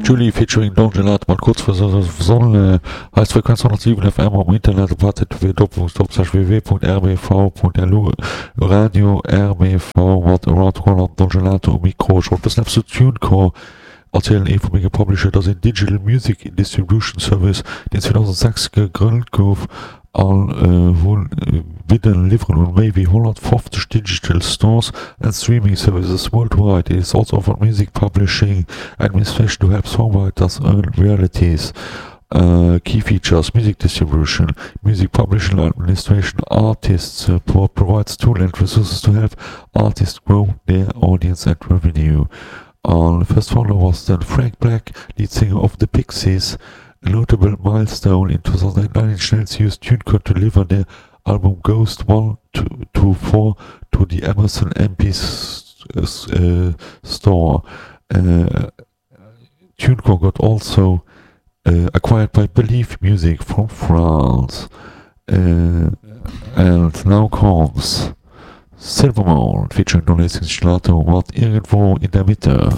Julie featuring Don Gelato mat Kurz vor Sonne heißt Frequenz 107 FM am Internet op http://www.rbv.lu Radio RBV mat Around Holland Don Gelato um Mikro. Ech wollt bëssen eppes zu TuneCore erzielen, ee vu menge Publisher. Dat ass een Digital Music Distribution Service, deen 2006 gegrënnt gouf an hunn bidden liwweren un méi wéi 150 digital stores and streaming services worldwide. It is also offered music publishing administration to help songwriters earn royalties. Key features, Music distribution, music publishing administration, artist support, provides tools and resources to help artists grow their audience and revenue. An first founder was then Frank Black, lead singer of The Pixies. A notable milestone in 2009 Schnells used TuneCore to deliver their album Ghost 1 to 4 to the Amazon MP store. TuneCore got also acquired by Believe Music from France. And now comes Silvermont featuring Don Hastings Gelato mat Irgendwo in der Mitte.